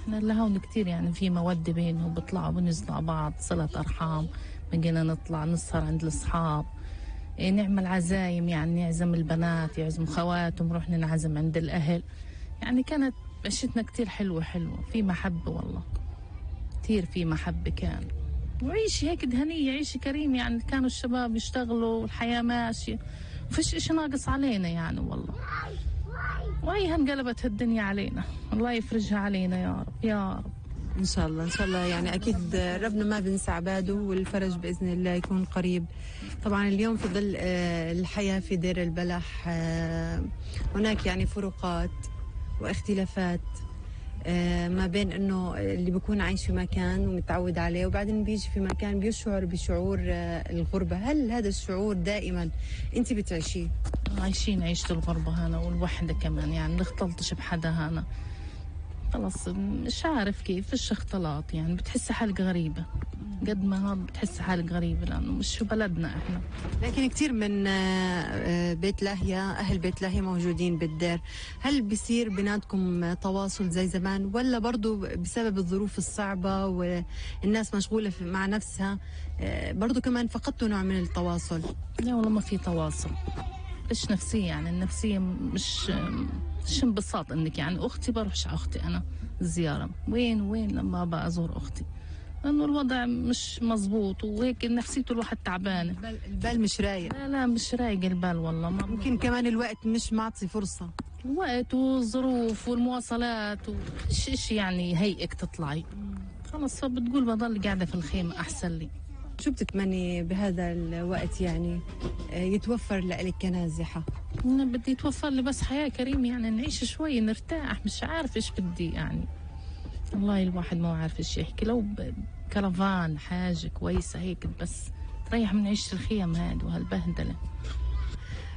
احنا لهون كتير يعني في مودة بينهم، بيطلعوا بنزلوا على بعض، صلة أرحام، بقينا نطلع نسهر عند الأصحاب، نعمل عزايم، يعني نعزم البنات يعزموا خواتهم، نروح ننعزم عند الأهل. يعني كانت عشتنا كتير حلوة في محبة والله، كتير في محبة كان، وعيش هيك دهنية، عيش كريم. يعني كانوا الشباب يشتغلوا والحياة ماشية، وفيش إشي ناقص علينا يعني والله. وهي انقلبت الدنيا علينا، الله يفرجها علينا يا رب يا رب. إن شاء الله إن شاء الله. يعني أكيد ربنا ما بنسى عباده، والفرج بإذن الله يكون قريب. طبعا اليوم في ظل الحياة في دير البلح هناك يعني فروقات واختلافات ما بين انه اللي بيكون عايش في مكان ومتعود عليه، وبعدين بيجي في مكان بيشعر بشعور الغربة. هل هذا الشعور دائما انت بتعيشيه؟ عايشين عيشة الغربة هنا والوحدة كمان، يعني نختلطش بحدا هنا، خلص مش عارف كيف، فيش اختلاط، يعني بتحس حالك غريبة قد ما هاد، بتحس حالك غريبة لأنه مش في بلدنا احنا. لكن كتير من بيت لاهيا، أهل بيت لاهيا موجودين بالدير. هل بيصير بيناتكم تواصل زي زمان، ولا برضو بسبب الظروف الصعبة والناس مشغولة مع نفسها برضو كمان فقدتوا نوع من التواصل؟ لا والله ما في تواصل، مش نفسية، يعني النفسية مش انبساط انك يعني اختي بروحش على اختي انا زيارة، وين لما ابى ازور اختي، لانه الوضع مش مزبوط، وهيك نفسيته الواحد تعبانة، البال مش رايق. لا مش رايق البال والله. ممكن كمان الوقت مش معطي فرصة، الوقت والظروف والمواصلات وإيش يعني هيئك تطلعي، خلص فبتقول بضل قاعدة في الخيمة أحسن لي. شو بتتمني بهذا الوقت يعني يتوفر لك كنازحة؟ أنا بدي يتوفر لي بس حياة كريمة، يعني نعيش شوي نرتاح، مش عارف إيش بدي يعني، والله الواحد ما عارف إيش يحكي. لو كرفان حاجة كويسة هيك بس تريح من عيشة الخيم هاد وهالبهدلة.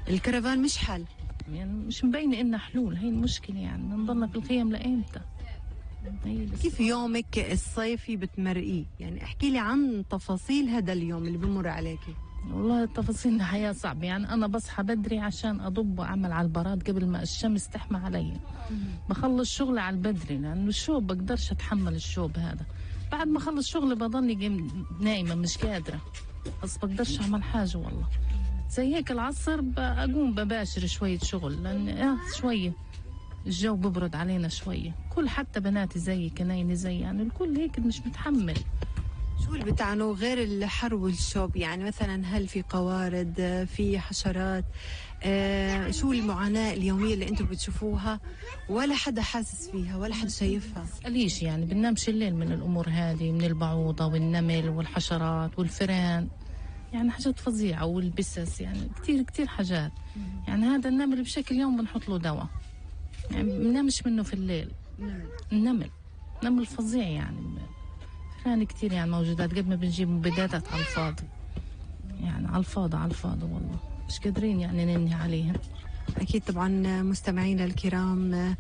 الكرفان مش حل، يعني مش مبينة إنها حلول، هي المشكلة، يعني نضلنا في الخيم لإمتى؟ كيف يومك الصيفي بتمرقيه؟ يعني احكي لي عن تفاصيل هذا اليوم اللي بمر عليكي. والله التفاصيل الحياة صعبة، يعني أنا بصحى بدري عشان أضب وأعمل على البراد قبل ما الشمس تحمى علي، بخلص شغلي على البدري لأنه الشوب بقدرش أتحمل الشوب هذا. بعد ما أخلص شغلي بضلني نايمة مش قادرة، بس بقدرش أعمل حاجة والله. زي هيك العصر أقوم بباشر شوية شغل، لأن شوية الجو ببرد علينا شوية، كل حتى بناتي زي كنايني زي، يعني الكل هيك مش متحمل. شو اللي بتعنوا غير الحر والشوب؟ يعني مثلا هل في قوارض، في حشرات، شو المعاناة اليومية اللي انتم بتشوفوها ولا حدا حاسس فيها ولا حدا شايفها؟ ليش يعني بننامش الليل من الأمور هذه، من البعوضة والنمل والحشرات والفئران، يعني حاجات فظيعة، والبسس، يعني كتير حاجات. يعني هذا النمل بشكل يوم بنحط له دواء، يعني بنامش منه في الليل. نمل فظيع، يعني فئران كتير يعني موجودات، قد ما بنجيب مبيدات على الفاضي، يعني على الفاضي والله مش قادرين يعني ننهي عليها. أكيد طبعا مستمعينا الكرام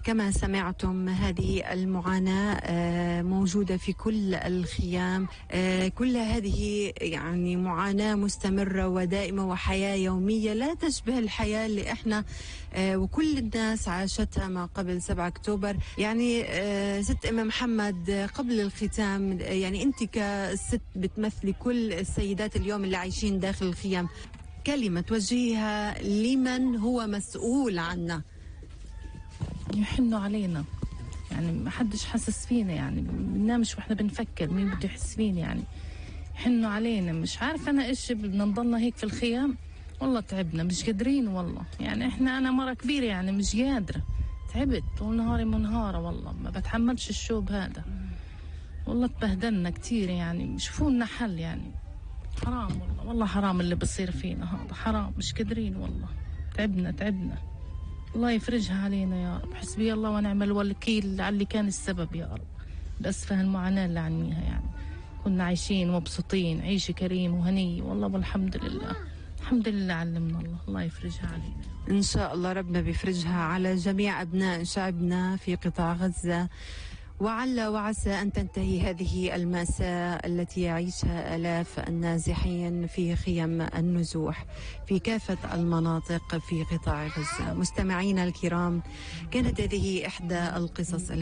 كما سمعتم هذه المعاناة موجودة في كل الخيام، كل هذه يعني معاناة مستمرة ودائمة وحياة يومية لا تشبه الحياة اللي احنا وكل الناس عاشتها ما قبل 7 أكتوبر. يعني ست أم محمد، قبل الختام، يعني أنت كست بتمثلي كل السيدات اليوم اللي عايشين داخل الخيام، كلمة توجهيها لمن هو مسؤول عنا؟ يحنوا علينا، يعني ما حدش حاسس فينا، يعني بننامش واحنا بنفكر مين بده يحس فينا، يعني يحنوا علينا. مش عارفة أنا إيش بدنا نضلنا هيك في الخيام، والله تعبنا مش قادرين والله. يعني أنا مرة كبيرة يعني مش قادرة، تعبت طول نهاري منهارة والله، ما بتحملش الشوب هذا والله، تبهدلنا كتير. يعني شوفوا لنا حل، يعني حرام والله حرام اللي بصير فينا هذا، حرام مش قادرين والله، تعبنا. الله يفرجها علينا يا رب، حسبي الله ونعم الوكيل على اللي كان السبب يا رب، بأسفه المعاناة اللي عنيها. يعني كنا عايشين مبسوطين عيشة كريم وهنية والله، والحمد لله الحمد لله علمنا الله يفرجها علينا إن شاء الله. ربنا بيفرجها على جميع أبناء شعبنا في قطاع غزة، وعل وعسى أن تنتهي هذه المأساة التي يعيشها آلاف النازحين في خيم النزوح في كافة المناطق في قطاع غزة. مستمعينا الكرام، كانت هذه إحدى القصص